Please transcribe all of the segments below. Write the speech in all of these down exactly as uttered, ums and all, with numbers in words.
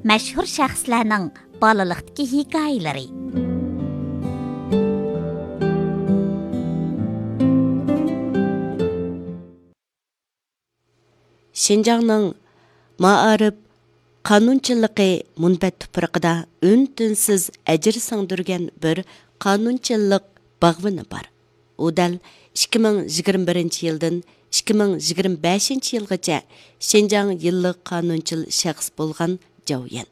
مەشھۇر شەخسلەرنىڭ بالىلىقتىكى ھېكايىلىرى. شىنجاڭنىڭ مائارىپ قانۇنچىلىقى مۇنبەت تۇپرىقىدا ئۈن-تىنسىز ئەجىر سىڭدۈرگەن بىر قانۇنچىلىق باغۋىنى بار. ئۇ دەل ئىككى مىڭ يىگىرمە بىرىنچى يىلدىن ئىككى مىڭ يىگىرمە بەشىنچى يىلغىچە شىنجاڭ يىللىق قانۇنچىل شەخس بولغان جاۋ يەن.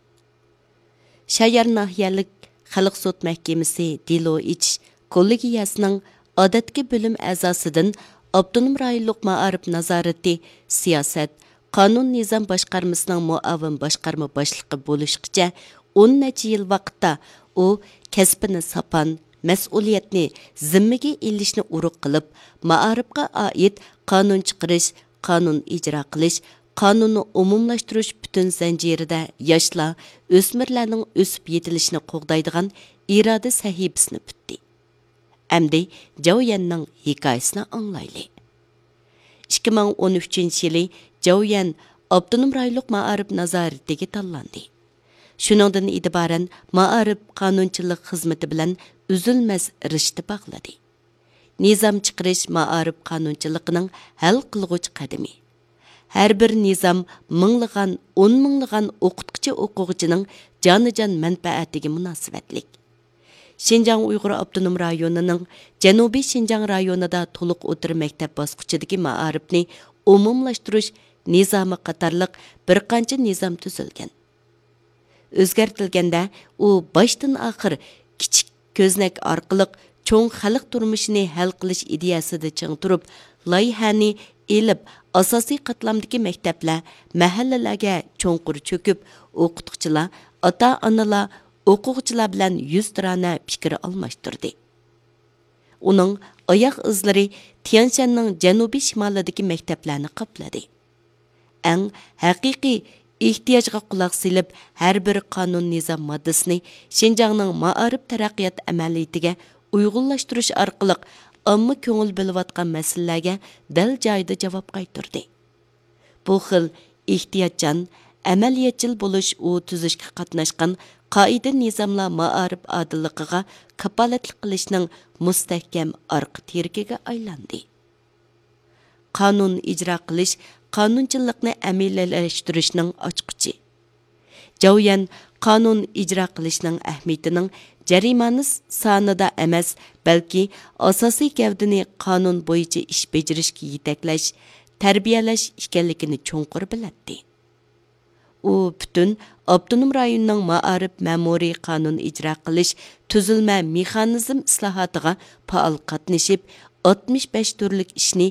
شايار ناھىيەلىك خەلق سوت مەھكىمىسى دېلو ئېچىش كوللېگىيەسىنىڭ ئادەتتىكى بۆلۈم ئەزاسىدىن ئاپتونوم رايونلۇق مائارىپ نازارىتى سىياسەت، قانۇن نىزام باشقارمىسىنىڭ مۇئاۋىن باشقارما باشلىقى بولۇشقىچە ئون نەچچە يىل ۋاقىتتا ئۇ كەسپىنى ساپان، مەسئۇلىيەتنى زىممىگە ئېلىشنى ئۇرۇق قىلىپ، مائارىپقا ئائىت قانۇن چىقىرىش، قانۇن ئىجرا قىلىش، قانۇننى ئومۇملاشتۇرۇش پۈتۈن زەنجىرىدە ياشلار، ئۆسمۈرلەرنىڭ ئۆسۈپ يېتىلىشىنى قوغدايدىغان ئىرادە سەھىپىسىنى پۈتتى. ئەمدى جاۋ يەننىڭ ھېكايىسىنى ئاڭلايلى. ئىككى مىڭ ئون ئۈچىنچى يىلى جاۋ يەن ئاپتونوم رايونلۇق مائارىپ نازارىتىگە تاللاندى. شۇنىڭدىن ئېتىبارەن مائارىپ قانۇنچىلىق خىزمىتى بىلەن ئۈزۈلمەس رىشتە باغلىدى. نىزام چىقىرىش مائارىپ قانۇنچىلىقىنىڭ ھەل قىلغۇچ قەدىمى. ھەر بىر نىزام مىڭلىغان، ئون مىڭلىغان ئوقۇتقۇچى، ئوقۇغۇچىنىڭ جانىجان مەنپەئەتىگە مۇناسىۋەتلىك. شىنجاڭ ئۇيغۇر ئاپتونوم رايونىنىڭ جەنۇبىي شىنجاڭ رايونىدا تولۇق ئوتتۇرا مەكتەپ باسقۇچىدىكى مائارىپنى ئومۇملاشتۇرۇش نىزامى قاتارلىق بىر قانچە نىزام تۈزۈلگەن. ئۆزگەرتىلگەندە، ئۇ باشتىن ئاخىر كىچىك كۆزنەك ئارقىلىق چوڭ خەلق تۇرمۇشىنى ھەل قىلىش ئىدىيەسىدە چىڭ تۇرۇپ، لايىھەنى ئېلىپ، ئاساسىي قاتلامدىكى مەكتەپلەر، مەھەللىلەرگە چوڭقۇر چۆكۈپ، ئوقۇتقۇچىلار، ئاتا-ئانىلار، ئوقۇغۇچىلار بىلەن يۈزتۇرانە پىكىر ئالماشتۇردى. ئۇنىڭ ئاياغ ئىزلىرى تيەنشەننىڭ جەنۇبىي شىمالىدىكى مەكتەپلەرنى قاپلىدى. ئەڭ ھەقىقىي ئېھتىياجغا قۇلاق سېلىپ، ھەر بىر قانۇن نىزام ماددىسىنى شىنجاڭنىڭ مائارىپ تەرەققىيات ئەمەلىيىتىگە ئۇيغۇنلاشتۇرۇش ئارقىلىق ئامما كۆڭۈل بۆلۈۋاتقان مەسىلىلەرگە دەل جايىدا جاۋاب قايتۇردى. بۇ خىل ئېھتىياتچان، ئەمەلىيەتچىل بولۇش ئۇ تۈزۈشكە قاتناشقان قائىدە-نىزاملار مائارىپ ئادىللىقىغا كاپالەتلىك قىلىشنىڭ مۇستەھكەم ئارقا تىرىكىگە ئايلاندى. قانۇن ئىجرا قىلىش قانۇنچىلىقنى ئەمەلىيلەشتۈرۈشنىڭ ئاچقۇچى. جاۋيەن قانۇن ئىجرا قىلىشنىڭ ئەھمىيىتىنىڭ جەرىمانە سانىدا ئەمەس، بەلكى ئاساسىي گەۋدىنى قانۇن بويىچە ئىش بېجىرىشكە يېتەكلەش، تەربىيەلەش ئىكەنلىكىنى چوڭقۇر بىلەتتى. ئۇ پۈتۈن ئاپتونوم رايوننىڭ مائارىپ مەمۇرىي قانۇن ئىجرا قىلىش تۈزۈلمە مېخانىزم ئىسلاھاتىغا پائال قاتنىشىپ، ئاتمىش بەش تۈرلۈك ئىشنى